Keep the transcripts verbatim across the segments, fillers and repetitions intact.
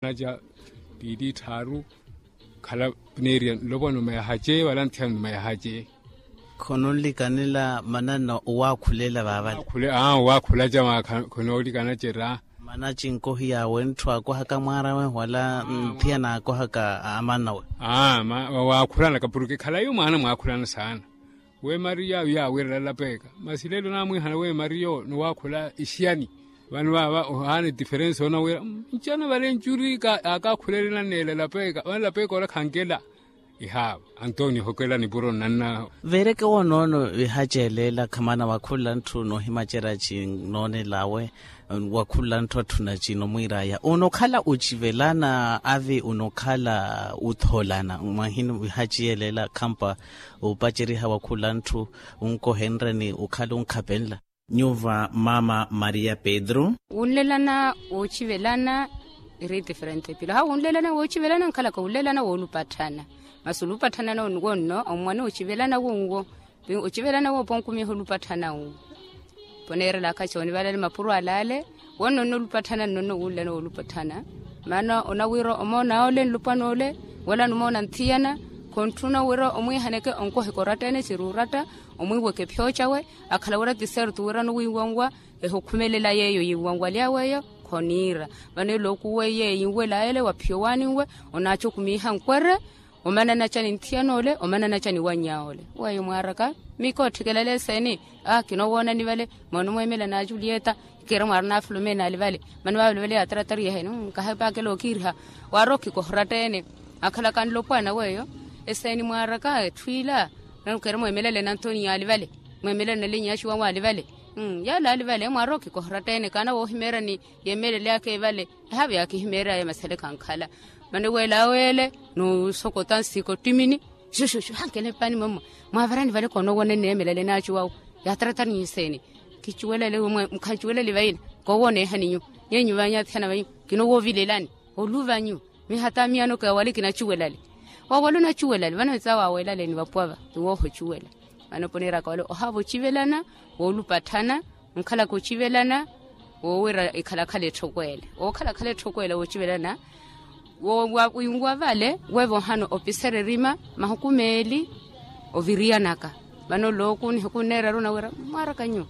Naca piili tthaaru. Khala neeriya nlopwa numa yahace wala nthiyana numa yahace. Khononlikanela mananna owaakhulela vaavale. Aa owaakhula ca khonoolikana cera. Mana cinkohi yaawe ntthu aakohaka mwaarawe wala nthiyana aakohaka amanawe. Aa ma wawaakhulana kapurke khalayi omwaana mwaakhulana saana. Weemariya yaawiirela lapeeka masi lelo naamwiihana weemariya onowaakhula ixiyani. Vano vaava ohaana etiferensi onawira ncana vale ncuri. Akakhulelena neela lapeeka vano lapeeka ola khankela. Ihaava antonio hokela nipuro nnanna. Veereke woonoono ihaceeleela khamana wakhula ntthu noohimacerya cinoonel'awe. Wakhula ntthu atthuna cinomwiir'aya onokhala ocivelana avi onokhala uthoolana mwahini ihaciyeeleela khampa. Opaceriha wakhula ntthu onkohenrya ni okhala onkhapenla. Nyuva mama maria pedro. Wunlelana woocivelana iri diferente pila hawu wunlelana woocivelana nkhalaka wunlelana woolupatthana. Masi olupatthana nonwo nno ommwane ocivelana wonwo. Ocivelana woopo onkumiha olupatthana wu. Poneerelaka coonivalale mapuro alale. Wonnonno olupatthana nnonno wunlelana woolupatthana. Maana onawira omoona ole nlopwan'ole wala numoona nthiyana. Khontthuna wira omwiihaneke onkoheka oratta-ene siri oratta. Omwiiweke phiyoocawe akhala wira ti serto wira nuwiiwanwa. Ehukhumelela yeeyo yiiwanwalyawe eyo khoniira. Vano elookuwe yeeyo yinwela ele wa phiyo waaninwe. Onaacokumiiha nkwere omanana ca ni nthiyana ole omanana ca ni wannya ole. Weeyo mwaaraka miikootthekelale eseeni. Aa kinowoonani vale mwaanumweemela na julieta. Kiira mwaarina afulumeeni ali vale mani vaavale vale yaataratari yaheni. Kahapaakela okiiriha waarokhikoha oratta-ene. Akhalaka nlopwana weeyo eseeni mwaaraka etthu ila. Nano kiira mweemelale na antoniyo ali vale mweemelale na linyaaxi wawe ali vale. Yaale ali vale mwaarokikoha oratta-ene kaana woohimeerani. Yeemeleleyaka evale ehaave yaakihimeeraya masaleka ankhala. Mani weelawe ele nuusokota nsiika ottimini. Xuxuxu hankele mpaani mwamwa mwaavarani vale konoowona enneemelale naacu wawu. Yaataratari nyi eseeni kicuwelale mukhancuwelale vaina. Koowoneehani nyu nyeenyu vanyathiyana vanyu kinowoovilelani. Oluva nyu mihatamiyano kewale kinacuwelale. Wawale onacuwelale vano etsaawo aweelale ni vapuwa va tiwoohocuwela. Vano poneeraka wale ohaava ocivelana woolupatthana. Nkhalaka ocivelana woowira ekhalakhala etthokweela wookhalakhala etthokweela woocivelana. Winwa vale weevohano opisera erima mahuku meeli oviriyanaka. Vano looku nihuku nneeraru nawira mwaaraka nyuwo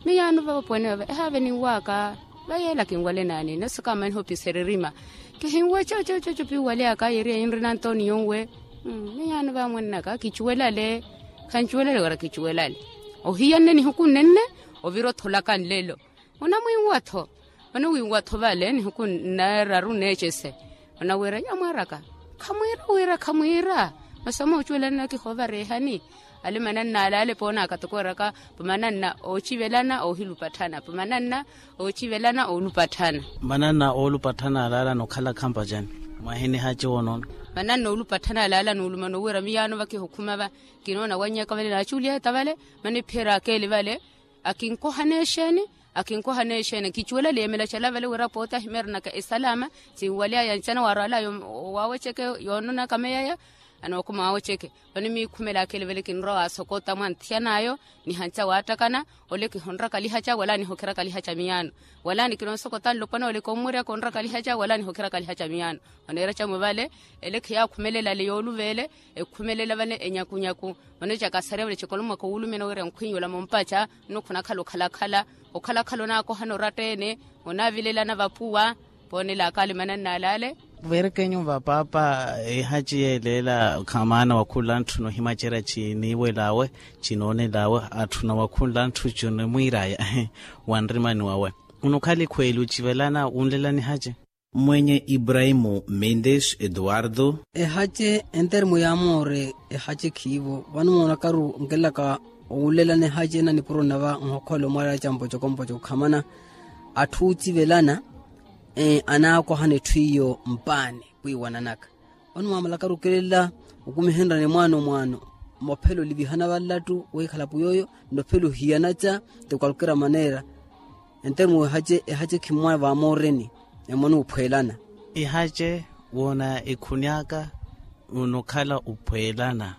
miyaano vavopuwene vava ehaave ninwaka. Vayeela kinwale naani nasi kaamaniha opisera erima. Kihinwe cocococo piwale aka yeeriya yinrina antoniyo nwe. Miyaano vaamwennaka kicuwelale. Khancuwelale wira kicuwelale. Ohiyanne nihuku nnenne ovira otholaka nlelo. Onamwiiwa-tho. Vano wiiwa-tho vale nihuku nneeraru neecese. Onawira nyamwaaraka khamwiira wira khamwiira. Masi omoocuwelana kihoovareehani. Ale mananna alaale poonaka toko eraka pamananna oocivelana oohilupatthana pamananna oocivelana oolupatthana. Mananna oolupatthana alaala nokhala khampacani. Mwahinihaci woonoono. Mananna oolupatthana alaala nuulumana owira miyaano vakihukhuma va. Kinoona wannyaka vale naaculyeta vale mani phiheraka ele vale. Akinkohana exeeni akinkohana exeeni kicuwelale yeemela cala vale wira pooti ahimeeranaka esalaama. Sinwalya yancana waarwala waaweceke yoononaka meyaya. Anookuma waaweceke. Vano miikhumelaka ele vale kinrowa waasokota mwa nthiyan'ayo nihanca waattakana. Ole kihonrakalihaca wala nihokirakalihaca miyaano. Wala nikinonsokota nlopwana ole kommweryaka onrakalihaca wala nihokirakalihaca miyaano. Oneera camu vale ele khiyaakhumelela ale yooluva ele. Ekhumelela vale enyakunyaku. Vano cakasarya vale cekolo mwaka owulumya noweerya nkhwinyu ola mompaca. Nno khunakhala okhalakhala okhalakhala onaakohana oratta-ene. Onaavilelana vapuwa. Poonelaka ale mananna alaale. Verekenyu vapaapa ehaci yeeleela khamaana wakhunla ntthu nohimacerya ciniiwel'awe cinoonel'awe atthuna wakhunla ntthu cinimwiir'aya. Wanrimani wawe onokhala ikhweeli ocivelana wunlela nihace. Mwenye ibrahimu mendes eduardo. Ehace entermo yaamoore ehace khiivo vano moonakaru nkelaka. Owulelana ehace na nipuro nava nhokhola omwarela ca mpocokompoco khamana atthu oocivelana. Anaakohana etthu iyo mpaani. Pwiiwananaka vano mwaamalakaru okelela okumihenryani mwaano mwaano. Mophela olivihana vallattu wiikhala pwiy'oyo nnophela ohiyana ca ti kwalkera maneera. Entermo ehace ehace khimmwa vaamooreni. Emwana ophweelana. Ihace woona ekhuni aka onokhala ophweelana.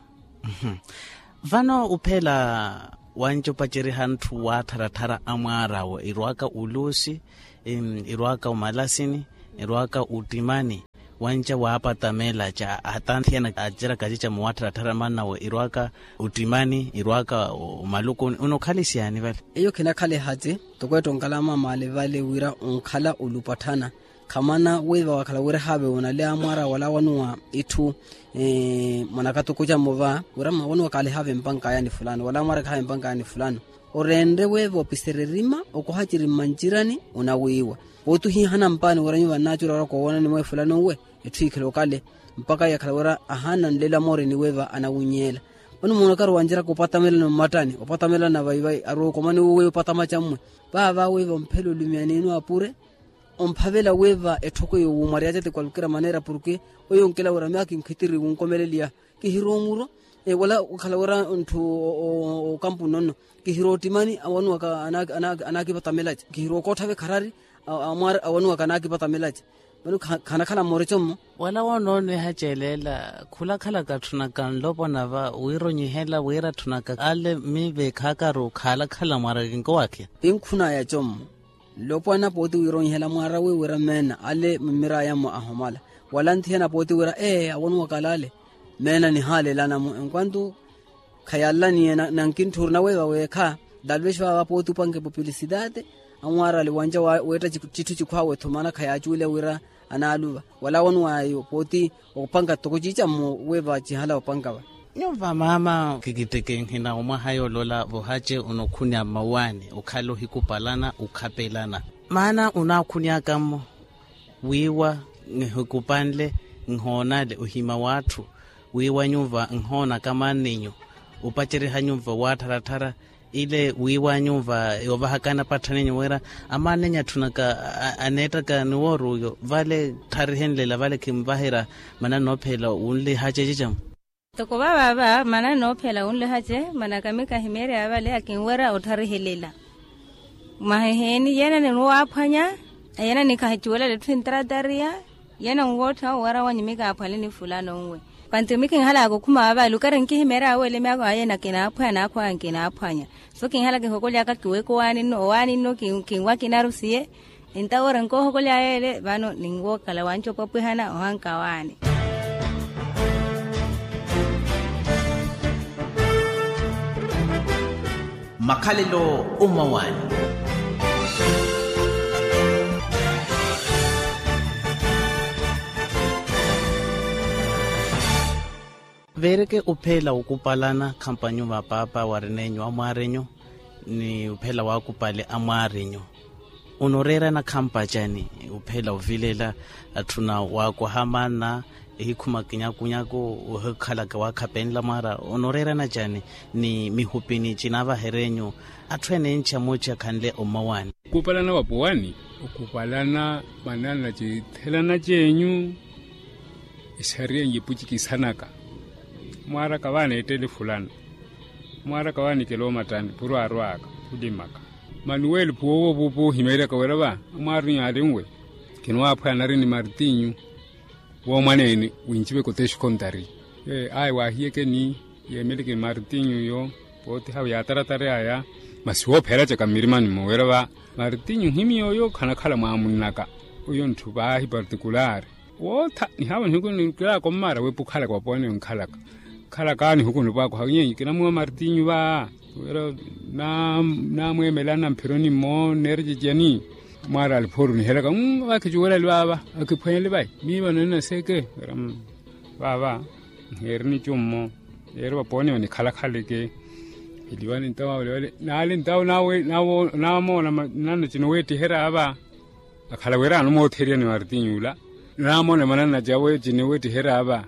Vano ophela wanci opaceriha ntthu waattharattharya amwaarawo irwaka ulusi irwaka omalasini. erwaka ottimani, wanca waapatamela ca hata nthiyana aceraka cica muwattharattharama nawe irwaka ottimani irwaka omalukuni onokhalisiani vale. Eyo khinakhala ehati toko ettonkalama mali vale wira onkhala olupatthana. Khamana wiiva wakhala wira ehaavewo nale amwara wala wanuwa itthu mwanakatuku cammo va wira mwawanuwa kaala ehaave mpanka aya ni fulano wala amwara kahaave mpanka aya ni fulano. Orenre wiiva opisere erima okoha ciri mmancirani onawiiwa. Pooti ohihana mpaani wira nyuva nnaaci orawaraka owoonani mwa efulano nwe etthu ikhela okale. Mpakha yakhala wira ahaana nlelo amooreni wiiva anawinyeela. Vano moona okarowa nciraka opatamelana mmattani opatamelana vaivai arowa okomani uwo weiva opatamaca mmwe. Vaava wiiva omphela olumiyani ino apure omphavela wiiva etthoko eyo wuumwaryaca ti kwalukira maneera porke oyo onkela wira miyo akinkhitiri wunkomeleliya. Kihiri omuro wala okhala wira ntthu okampu nonno. Kihiri ottimani awanuwaka anaakipatamelaca kihiri okoottha-ve kharari. Amwaari awanuwaka anaakipatamelaca. Vano khanakhala mmoreco mmo. Wala wonoonweha celela khulakhalaka tthunaka nlopwana va wira onyihela wira tthunaka ale miive khaakaru khaalakhala mwaara kinkowakhiya. Inkhunaya commo. Nlopwana pooti wira onyihela mwaara wi wira meena ale mmirayammo ahomala. Wala nthiyana pooti wira ee awonuwaka alaale. Meena nihaalelanamo enkwantu khayalaniye. Nankintthuri naweeva weekha. Talvexi vaava pooti opanke pupilisitaate. Amwaarale wanca weetta citthu cikhwaawe-tho maana khayaacuwile wira anaaluva. Wala wonuwaya pooti opanka toko ciicammo weeva cihala opanka va. Nyuva maama kikittekenhina omwaha yoolola vohace onokhunnya mmawaani okhala ohikupalana okhapelana. Maana onaakhunnyaka mmo wiiwa nhikupanle nhoonale ohima w'atthu. Wiiwa nyuva nhoonaka amaann'enyu opaceriha nyuva waattharattara. Ile wiiwa nyuva yoovahakana patthan'enyu wira amaann'enyu atthunaka aneettaka ni woor'uyo vale ttharihenlela vale khinvaherya. Mana nnoophela wunlihace ecicamu. Toko vaavaava mana nnoophela wunlihace mana kamikahimeerya vale akinwerya ottharihelela. Mwaha eheeni yeena ninwaaphwanya yeena nikahicuwelela etthu entratarya. Yeena nwoottha owaara wanyu mikaaphwale ni fulano nwe. Pantu mikinhalaka okhuma vaava lukari nkihimeerya aweele myaako ayeena kinaaphwanya naakhwaya nkinaaphwanya. So kinhala kihokolyaka kiweke owaani nno owaani nno kinwa kinarusiye. Entawo ori nkoohokolyaya ele vano ninwookhala wanci opwapwihana ohanka awaani. Makhalelo omawaani. Veereke opheela okupalana khampa nyuva paapa warin'enyu amwaarinyu ni opheela waakupale amwaarinyu. Onoreerana khampa cani opheela ovilela atthuna waakoha maana ehikhuma kinyakunyaku ohikhalaka waakhapenla mwaara onoreerana cani ni mihupini cinaavaher'enyu atthu ene enci amooci akhanle omawaani. Okupalana wapuwani okupalana manana cithelana cenyu. Esariya nyipucikisanaka mwaaraka vaaneettele fulana mwaaraka vaanikela omattani purwaarwaaka khulimaka. Manuweli phuwoowo vuupu ohimeeryaka wira va amwaari nyaari nwe kinwaaphwaya nari ni martinyu woomwaneene winciveka oteexikontari. Ayi waahiyekeni yeemeleke martinyu yo pootihawe yaataratari aya. Masi woophera caka mmirimani-mo wira va martinyu nhimiy'oyo khanakhala mwaamunnaka. Oyo ntthu paahi partikulari wootha nihaavo nihuku nikilaaka ommaara weepa okhalaka wapoone onkhalaka. Khalaka nihuku nipwaakoha nyenyi kinamuwa martinyu va wira naamweemelana mphironi mmo neericiciyani. Mwaara aliphooru nihelaka mmm vaakhicuwelali vaava. Akhiphweenle vai miiva nonina seke wira mmm vaava. Nheerini cummo yeeri vapoone onikhalakhaleke. Eliwani ntawo awelewele naali ntawo naamoona manana cinoweettiherya va. Akhala wira anomootherya ni martinyu ula naamoona manana cawe cinoweettiherya va.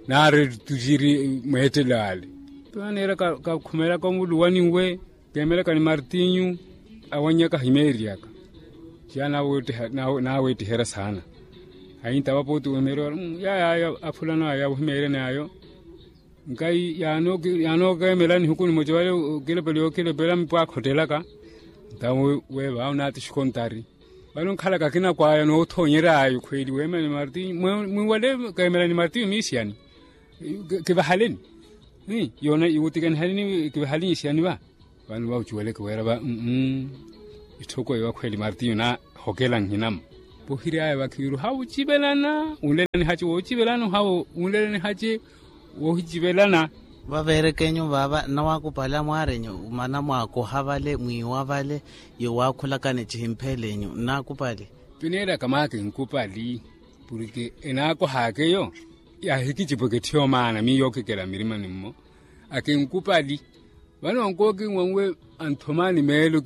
Naari tuciri mweettelo ale. Twaneera kakhumelaka omuluwani nwe keemelaka ni martinyu awannyaka ahimeeryaka. Ciya naaweettiherya saana. Ahinta vapooti weemerya wala yaya ayo afulano aya ohimeeryani ayo. Nkayi yaanookeemela nihuku nimoca vale okilepela yookilepela mipwaakha ottelaka. Ntawo weeva onaati xikontari vano nkhalaka akinakwaya noothoonyerya ayo khweeli weemela ni martinyu mwiwale keemela ni martinyu miisiyani. Kivahaleni yoona iwutikanihaleni kivahaleni isiyani va. Vano vaucuweleke wira va mmm itthoko eyo akhweeli martinyu naahokela nhinamo. Pohiry'aya vakhiiru hawu ocivelana wunlelanihace woocivelana hawu wunlelanihace. Woohicivelana. Vaveerekenyu vaava nnawaakupali amwaarenyu mana mwaakoha vale mwiiwa vale. Yowaakhulakani cihimpheenlenyu nnaakupali. Pineeraka mwaaka enkupali purke enaakohaaka eyo. Yaahikicipweke etthu yoomaana miyo okhikela mmirimani mmo. Akenkupali vano nkookinwa nwe anthomaani meelo.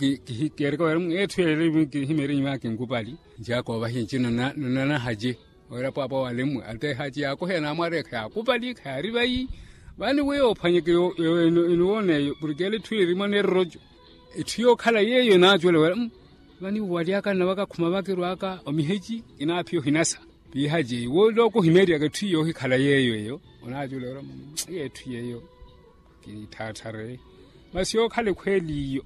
Keereka wira etthu yeeri kihimyerenyu mwaaka enkupali. Nci akoovahiya nci nonanahace wira pwaapwa wale mmwe atehaci yaakoheya naamwareya khayaakupali khayaari vayi. Vani weyo ophwanyeke enuwoona eyo purke ele etthu yeeri mwaneera oroco. Etthu yookhala yeeyo enaacuwela wira vani waly'aka nnavaka khuma vakirw'aka omiheci. Kinaaphiya ohinasa piihace iwe ole okuhimeeryaka etthu yoohikhala yeeyo eyo. Onaacuwela wira iyo etthu yeeyo. Kitthaatthare masi yookhala ekhweeli iyo.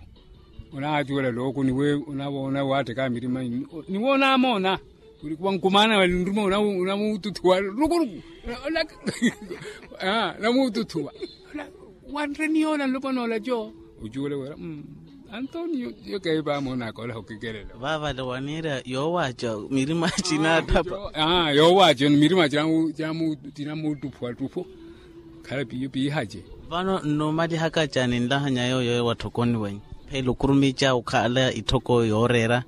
Onaacuwela looku niwe onavoona waatteka mirima. Niwe onaamoona wiri kuva nkumaana vale nruma onamuututhuwa rukuruku. Namuututhuwa wanreni yoola nlopwana olaco. Ocuwela wira antonio. Yo keevi vaamoonaka olaha okikelela. Vaavale waniira yoowaaca mirima cinaattapa. Yoowaaca mirima tinamuuttuphuwattuphu. Khala piyo piihace. Vano nnumalihaka cani nlahanya yooyo ewa tthokoni wenyu? Pheela okurumica okhala itthoko yooreera.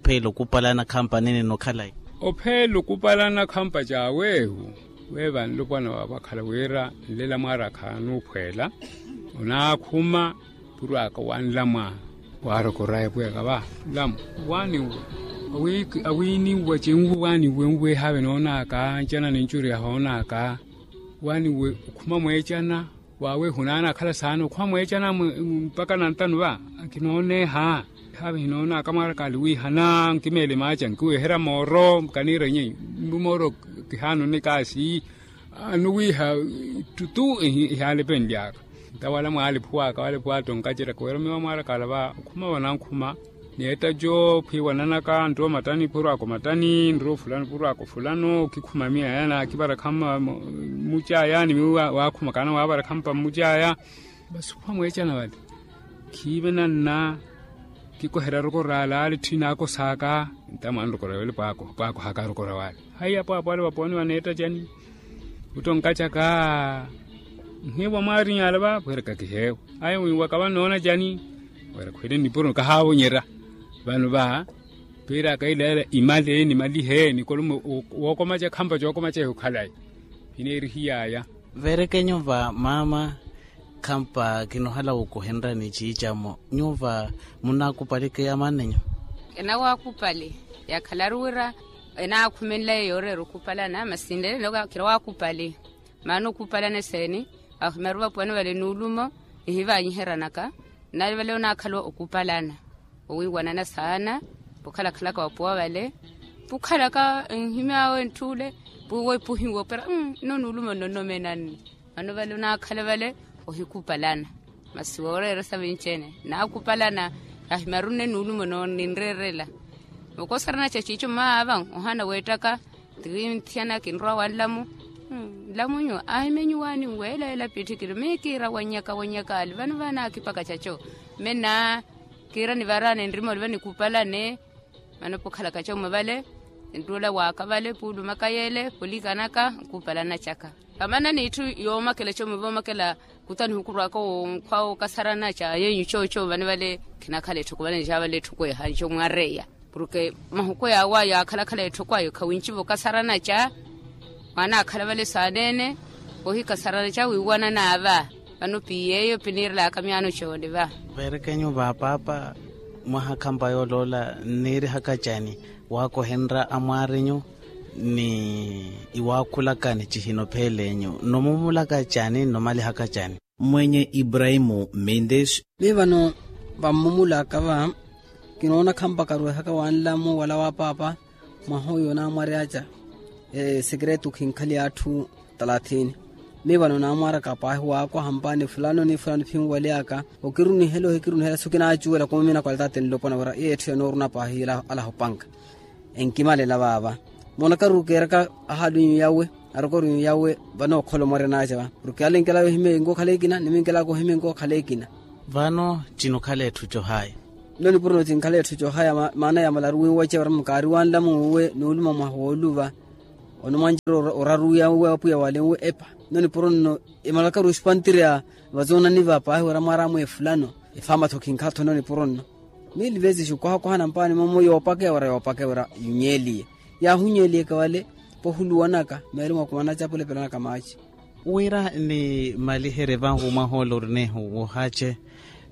Pheela okupalana khampa nene nokhalayi. Opheela okupalana khampa caaweehu. Weeva nlopwana waavakhala wira nlela mwaara khaanuukhweela. Onaakhuma purwaka wanlamwa. Waarokoraya pwiyaka va nlamu. Waaniwe awiiniwe cinwe waaniwe nwe haave noonaka ncana ni ncuri yahoonaaka. Waaniwe okhuma mweecana waawe hunaana akhala saana okhuma mweecana mpaka nantanu va. Kinooneha haave hinoonaka mwaarakaali wiihana nkimeele maaca nkiweherya mooro kaniira nyi. Mbu mooro kihaanoni kaasi. Anuwiiha ttutu. Ihaalepenly'aka nta wala mwaalephuwaka wala pwaatonkacerya kuwerya miyo amwaarakaala va okhuma vanankhuma. Ni ettaco phwiiwananaka nrowa mattani phurwaka omattani nrowa ofulano phurwaka ofulano okikhuma miya yana akivara khamma. Mmucaya ni miyo waakhuma kaana waavara khampa mmucaya. Vasi okhuma mweecana vale khiive nanna. Kikoherya roko raale ale etthu inaakosaaka. Nta mwaanrokorya wele pwaakohaka arokorya wale. Haiya pwaapwa ale vapooni vaneetta cani? Ottonkacaka nhiivo mwaariny'ala va pweereka kiheewo. Aya wiiwaka vano noona cani? Wira khwele nipuro kahaavonyerya. Vano va piiraka ilaela imale nimalihe nikolumo wookomaca khampa cookomaca ehukhalayi. Hineerihiy'aya. Veerekenyu va maama. Khampa kinohala wokohenrani ciicamo nyuva munaakupaleke ya maannenyu? Enawaakupale yakhalaru wira enaakhumenlaye yooreera okupalana masi nlelo kinawaakupale. Maana okupalana eseeni? Ahimaru vapuwani vale nuulumo nihivanyiheranaka. Nnali vale onaakhala okupalana owiiwanana saana. Pukhalakhalaka vapuwa vale pukhalaka nhimy'awe ntthuule puwo epuhiwa opera. Nno nuulumo nnonnomenanne. Mano vale onaakhala vale ohikupalana. Masi wooreeresa vinci-ene naakupalana. Ahimarunne nuulumo nooninreerela. Okosarana ca ciico mmaava ohana weettaka. Tirinthiyana kinrowa wa nlamu. Nlamunyu ahimenyu waani nweela ela pitthikiri miyo kiira wannyaka wannyaka ali vano vaanaakipaka caco. Mme nnaa kiira nivaraane nrima oliva nikupalane. Mano pukhalaka comwe vale nttula waaka vale puulumaka yeele pulikanaka nkupalana caka. Vamana n'itthu yoomakela comwe voomakela kuta nihukurwaka onkhwa okasarana ca yeenyu cooco vane vale. Khinakhala etthoko vale nca vale etthoko ehanco mwareya. Porke mahuko yaawa yaakhalakhala etthoko ayo khawinciva okasarana ca. Mwaanaakhala vale saaneene ohikasarana ca wiiwanana va. Vano piiy'eyo piniirelaka myaano coole va. Veerekenyu va paapa mwaha khampa yooloola nniirihaka cani? Waakohenrya amwaarinyu ni iwaakhulakani cihino pheel'enyu nnomumulaka cani nnomalihaka cani? Mmwenye ibrahimu mendes. Miyo vano vammumulaka va kinoona khampa karwehaka wa nlamu wala wa paapa. Mwaha oyo naamwaryaca esekeretu khinkhali atthu talathini. Miyo vano naamwaraka paahi waakoha mpaani fulano ni fulano phinwaleyaka okirunihela ohikirunihela so kinaacuwela kumumina kwala taate nlopwana wira iyo etthu yanooruna paahi alaha opanka. Enkimalela vaava moonakaru keeraka ahaali onyu yawe aroko ori onyu yawe. Vano okholo mwaryanaca va porke ale enkelaka ohimya enkookhala ekina ni minkelaka ohimya enkookhala ekina. Vano cinokhala etthu cohaya. Nno nipuro nno tinkhala etthu coohaya maana ya malaru winweca wira mukaari wanlamu uwe nuuluma mwaha wooluva. Ono mwanjira oraru ya uwe apwiya wale nwe epa. Nno nipuro nno emalakaru espantireya vazoonani va paahi wira mwaramwe efulano. Efamatho kinkhatho nno nipuro nno. Mili vesi xukwahakwahana mpaani momo yoopakeya wira yoopakeya wira yunyeeliye. Yaahunyeeliyeka vale pohuluwanaka meeri mwakumana capulepelanaka maaci. Wira nimaliherye vanhu mwaha ole orinehu wohace.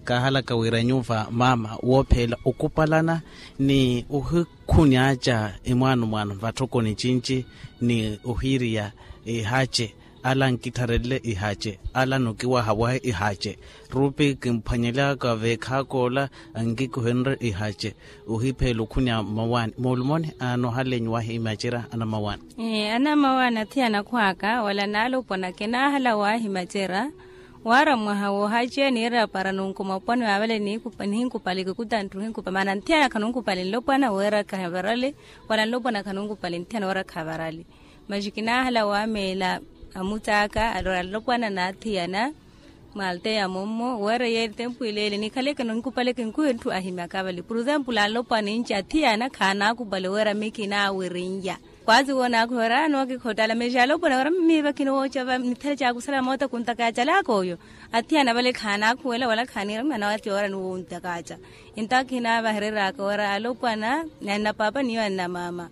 Kaahalaka wira nyuva maama woophela okupalana ni ohikhunyaca emwaano mwaano vatthokoni cinci ni ohiiriya ihace. Ala ankitharelle ihace ala anokiwahawahe ihace. Rupi kimphwanyelaka veekhaakoola ankikuhenrye ihace. Ohiphela okhunya mmawaani moolumoni anoohalenyu wahi imacera anamawaani. Anamawaani athiyana akhw'aka wala naalopwana kinaahala wahi macera. Waara mwaha woohace niira para nunku mapwani waavale nihinkupali kikuta nttu hinkupali maana nthiyana khanunkupali nlopwana wira khavarali. Wala nlopwana khanunkupali nthiyana wira khavarali. Maxi kinaahala waameela amucaaka alora nlopwana n'athiyana. Mwaalteya mummo wira yeeri tempu ileele nikhaleke ninkupale kinkwihe nthu ahimyaka vale puruzempulu anlopwana ninci athiyana khaanaakupale wira mi kinaawirinya. Kwaasi woonaakhuwela nookikhotala mexi alopwana wira miiva kinowooca va nithale caakusala moota kuntakaacalaka oyo. Athiyana vale khaanaakhuwela wala khaaniira mi anawatiwa wira niwontakaaca. Entawo kinaavahereryaaka wira alopwana ni annapaapa niyo annamaama.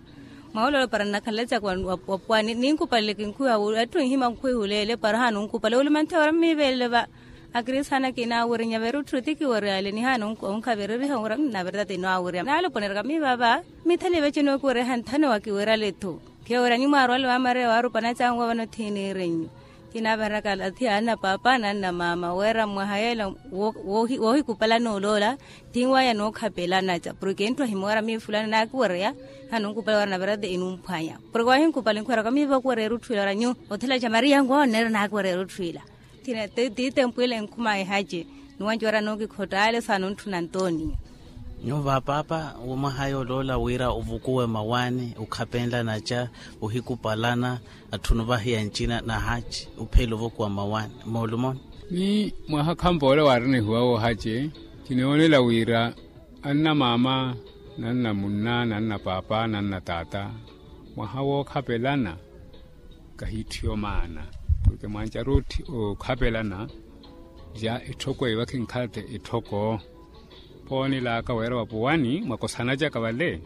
Mwaulolo para nnakhalacaka wa pwani ninkupalele kinkhuwi etthu nhima nkhwihuleele para haanunkupale olumanthe wira mmiiveelele va. Akristaana kinaawirinya veerutthu etikiweryaale ni haanunkhavereriha wira mnavertata inaawiryama naaloponeraka miiva va. Mithali vecenokiweryaha nthano wakiwerale-tho. Khiyo wira nimwaarwale wa maria waarupana cangu avano thiiniirenyu. Kinaavaheraka athiya annapaapa na annamaama wira mwaha yeela woohikupalana oloola. Tinwaya nookhapelana ca porke enthu ahimwara miifulani naakiwereya. Haanunkupale wira naverate inumphwanya porke wahinkupale nkhuweraka miiva okuwereya erutthu ila wira nyu othela ca maria nkoonneera naakiwereya erutthu ila. Tiitempu ila enkhuma ehace. Nuwanci wira nookikhottaale saanontthuna ntoniya. Nyuva paapa womwaha yooloola wira ovukuwe mawaani okhapenlana ca ohikupalana. Atthunu vahiya ncina na haci ophela ovokuwa mmawaani moolumoni. Ni mwaha khampoola waarina ehuwa woohace. Kinoonela wira annamaama nannamunna nannapaapa nannataata mwaha wookhapelana. Kahiitthiyo maana porke mwancaru okhapelana. Ja etthoko eyi vakhinkhala te etthoko. Poonelaka wira vapuwani mwakosanacaka vale.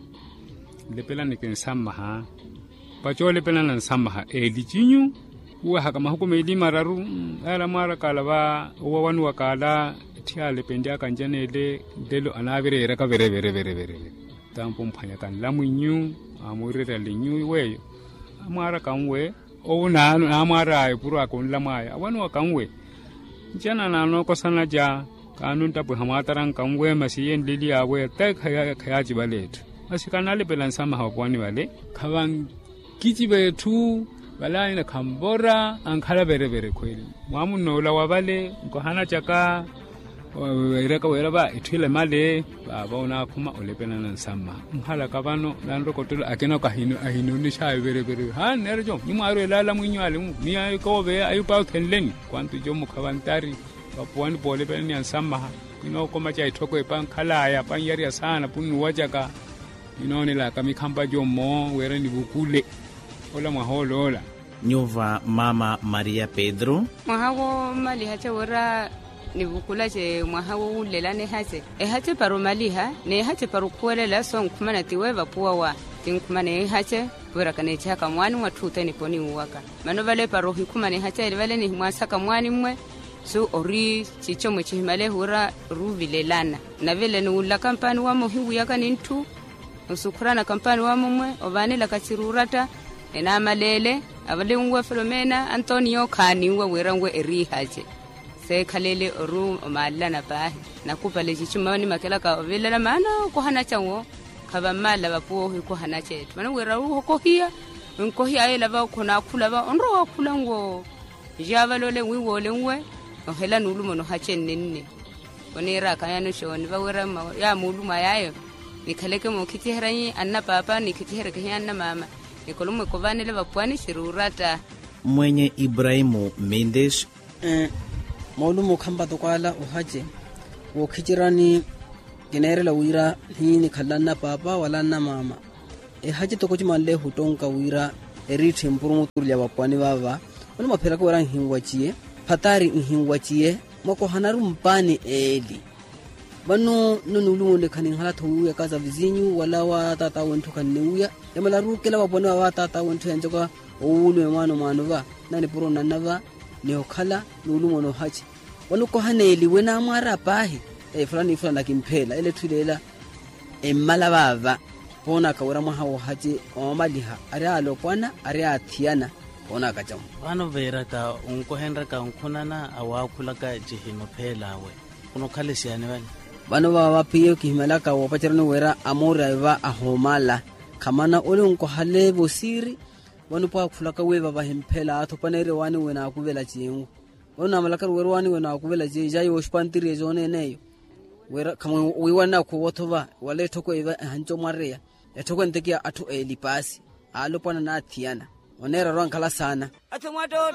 Nlepelani kinsammaha. Pacolepelana nsammaha eeli cinyu. Wuwehaka mahuku meeli mararu. Ala mwaarakaala va owawanuwakaala. Etthi aalepenlyaka njaneele nlelo anaavireeraka vere vere vere vere. Tampo mphwanyaka nlamwinyu. Aamwireryale nyu weeyo. Amwaaraka nwe. Owo naamwaar'aya epuro aka onlamw'aya awanuwaka nwe. Ncana naanookosana ca. Kaanunttapwiha mwaataranka nwe masi iye nleli awe ata khayaaci vale etthu. Masi kanalepela nsamaha vapuwani vale. Khavankiciva etthu. Vale anyina khanvora ankhala verevere khweli. Mwamunn'ola wa vale nkohanacaka. Weeraka wira va etthu ila emale. Vaava onaakhuma olepelana nsamma. Nkhalaka vano nanrokottelo akina ahinonixayo verevere haani neera jomo nimwaarwela alamwinyu ale. Ni akoove ayo paakhenleni kwantu jomo khavantari. Vapuwani poolepelaniya nsammaha. Kinookomaca etthoko epankhalaya panyariya saana punnuwacaka. Ninoonelaka mikhampa jomo wira nivukule ola mwaha oloola. Nyuva mama maria pedro. Mwaha woomalihace wira nivukulace mwaha wowunlelana ehace. Ehace para omaliha n'ehace para okhuwelela sonkhumana tiwe vapuwa wa. Tinkhumana ehace wira kaneecihaka mwaani mwatthu ote niponiwaka. Mano vale para ohikhumana ehace eli vale nihimwaasaka mwaani mmwe. Su ori cico mwe cihimalehu wira oruvilelana. Navile nuwulaka mpaani wamo ohiwiyaka ni ntthu. Osukhurana kampaani wamumwe ovaanelaka ciruuratta. Enaamaleele avalinwe filomena antonio khaaniwe wira nwe eriihace. Seekhalele oru omaalelana paahi. Nakupale cicuma onimakelaka ovilelana maana okohanaca nwo. Khavammalela vapuwa ohikohanaca etthu mano wira ohokohiya. Onkohiya ayela va okhonaakhula va onrowa waakhula nwo. Njaavale ole nwiiwoole nwe. Nohela nuuluma onohace nnenne. Oniiraka yano xooni vawira yaamuuluma yaayo. Nikhaleke mookhiciheryanyi annapaapa nikhiciheryeke hiya annamaama. Nikolommwe kovaanele vapuwani siruuratta. Mwenye ibrahimu mendes. Moolumo khampata okwaala ohace wookhiceryani. Kineerela wira, hiinikhalanna paapa wala nnamaama. Ehaci toko cimanle ehuttonka wira, eriitthe mpurumuturulya vapwani vava. Vano mwaphiyeraka wira nhinwaciye, phatari nhinwaciye, mwakohanaru mpaani eeli. Vano nno nuulumo nle khaninhala-tho wiiwiyaka za vizinyu wala wa taata wenthu khanniwiya. Yamala ruukela vapwani vava taata wenthu yancoka owuulume mwaano mwaano va, nanipuro nanna va, ni okhala nuulumo noohaci. Vano okoha neeliwe naamwaara paahi. Fulani fulani akimpheela ele etthu ileela. Emmala vaava. Poonaka wira mwaha woohaci oomaliha ari alopwana ari athiyana. Poonaka camu. Vano veeraka onkohenraka onkhunana awaakhulaka cihino pheel'awe. Khunokhala esiyaani vale. Vano vaava p'iyo kihimalaka woopacerani wira amoori ayo va ahoomala. Khamana ole onkohale vosiiri. Vano pwaakhulaka wiiva vahimphela athu paneerya owaani wenakuvela ciinwu. Vano naamalakaru wira owaani wenakuvela ciinwu jaayi wooxipantiriye jooneen'eyo. Wira khamwiiwanana khoowothova wala etthoko iva ehanci omwareya. Etthoko entekiya atthu eelipaasi, aalopwana n'athiyana. Oneera ori ankhala saana. Atthu mwattootto.